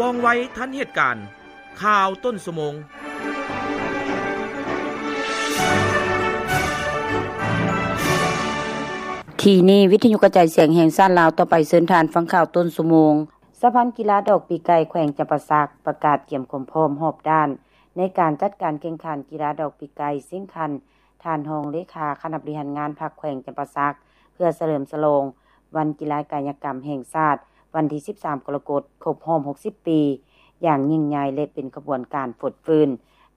ວ່ອງໄວທັນເຫດການ. ຂ່າວຕົ້ນຊົ່ວໂມງ. ທີ່ນີ້ ວິທະຍຸກະຈາຍສຽງແຫ່ງຊາດລາວ. ຕໍ່ໄປເຊີນທ່ານຟັງຂ່າວຕົ້ນຊົ່ວໂມງ. ສະຫະພັນກິລາດອກປີກໄກ່ແຂວງຈຳປາສັກ ປະກາດກຽມຄວາມພ້ອມຮອບດ້ານ ໃນການຈັດການແຂ່ງຂັນກິລາດອກປີກໄກ່ ເຊິ່ງທ່ານຮອງເລຂາຄະນະບໍລິຫານງານພັກແຂວງຈຳປາສັກ ເພື່ອສະເຫຼີມສະຫຼອງ ວັນກິລາກາຍະກຳແຫ່ງຊາດ ວັນທີສິບສາມ ກໍລະກົດ ຄົບຮອບຫົກສິບປີ ຢ່າງຍິ່ງໃຫຍ່ ແລະ ເປັນຂະບວນການຟົດຟື້ນ.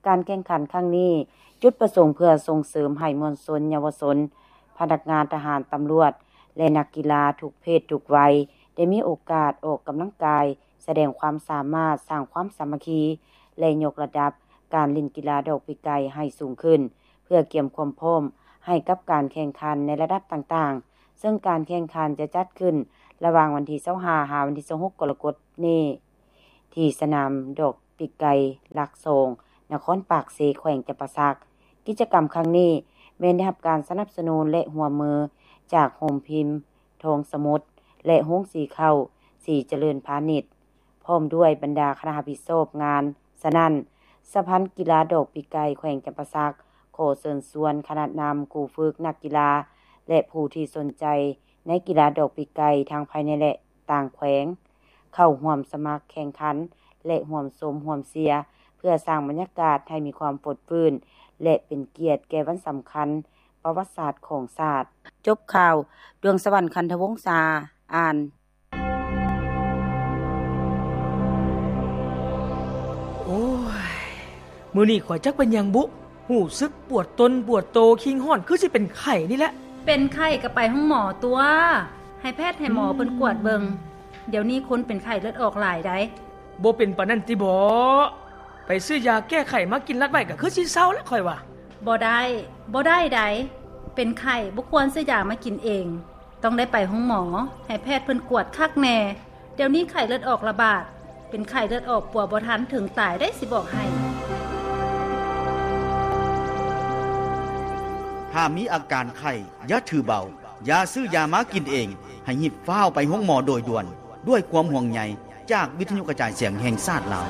ການແຂ່ງຂັນຄັ້ງນີ້ ຈຸດປະສົງເພື່ອສົ່ງເສີມໃຫ້ມວນຊົນ, ເຍົາວະຊົນ, ພະນັກງານທະຫານ, ຕຳຫຼວດ ແລະ ນັກກິລາທຸກເພດທຸກໄວ ໄດ້ມີໂອກາດອອກກຳລັງກາຍ, ສະແດງຄວາມສາມາດ, ສ້າງຄວາມສາມັກຄີ ແລະ ຍົກລະດັບການຫຼິ້ນກິລາດອກປີກໄກ່ໃຫ້ສູງຂຶ້ນ ເພື່ອກຽມຄວາມພ້ອມໃຫ້ກັບການແຂ່ງຂັນໃນລະດັບຕ່າງໆ, ເຊິ່ງການແຂ່ງຂັນຈະຈັດຂຶ້ນລະຫວ່າງວັນທີຊາວຫ້າ ຫາວັນທີຊາວຫົກ ກໍລະກົດນີ້ ທີ່ສະໜາມດອກປີກໄກ່ຫຼັກສອງ ນະຄອນປາກເຊ ແຂວງຈຳປາສັກ. ກິດຈະກຳຄັ້ງນີ້ແມ່ນໄດ້ຮັບການສະໜັບສະໜູນ ແລະ ຮ່ວມມືຈາກໂຮງພິມທອງສະໝຸດ ແລະ ໂຮງສີເຂົ້າສີຈະເລີນພານິດ ພ້ອມດ້ວຍບັນດາຄະນະຮັບຜິດຊອບງານ. ສະນັ້ນ ສະຫະພັນກິລາດອກປີກໄກ່ແຂວງຈຳປາສັກ ຂໍເຊີນຊວນຄະນະນຳ, ຄູຝຶກ, ນັກກິລາ ແລະ ຜູ້ທີ່ສົນໃຈໃນກິລາດອກປີກໄກ່ ທັງພາຍໃນ ແລະ ຕ່າງແຂວງ ເຂົ້າຮ່ວມສະໝັກແຂ່ງຂັນ ແລະ ຮ່ວມຊົມຮ່ວມເຊຍ ເພື່ອສ້າງບັນຍາກາດໃຫ້ມີຄວາມຟົດຟື້ນ ແລະ ເປັນກຽດແກ່ວັນສຳຄັນປະຫວັດສາດຂອງຊາດ. ຈົບຂ່າວ. ດວງສະຫວັນ ຄັນທະວົງສາ ອ່ານ. ໂອ້ຍ ມື້ນີ້ຂ້ອຍຈັກເປັນຫຍັງບຸ ຮູ້ສຶກປວດຕົນປວດໂຕ, ຄີງຮ້ອນ ຄືຊິເປັນໄຂ້ນີ້ແຫຼະ. ເປັນໄຂ້ກໍໄປໂຮງໝໍຕົວະ, ໃຫ້ແພດໃຫ້ໝໍເພິ່ນກວດເບິ່ງ. ດຽວນີ້ຄົນເປັນໄຂ້ເລືອດອອກຫຼາຍໃດ໋. ບໍ່ເປັນປານນັ້ນຕິບໍ? ໄປຊື້ຢາແກ້ໄຂ້ມາກິນລັດໄວ້ ກໍຄືຊິເຊົາລະຂ້ອຍວ່າ. ບໍ່ໄດ້, ບໍ່ໄດ້ໃດ໋. ເປັນໄຂ້ບໍ່ຄວນຊື້ຢາມາກິນເອງ. ຕ້ອງໄດ້ໄປໂຮງໝໍ, ໃຫ້ແພດເພິ່ນກວດຄັກແນ່. ດຽວນີ້ໄຂ້ເລືອດອອກລະບາດ, ເປັນໄຂ້ເລືອດອອກປົວບໍ່ທັນ ເຖິງຕາຍໄດ໋ ຊິບອກໃຫ້. ຖ້າມີອາການໄຂ້ ຢ່າຖືເບົາ, ຢ່າຊື້ຢາມາກິນເອງ, ໃຫ້ຮີບຟ້າວໄປໂຮງໝໍໂດຍດ່ວນ. ດ້ວຍຄວາມຫ່ວງໃຍຈາກວິທະຍຸກະຈາຍສຽງແຫ່ງຊາດລາວ.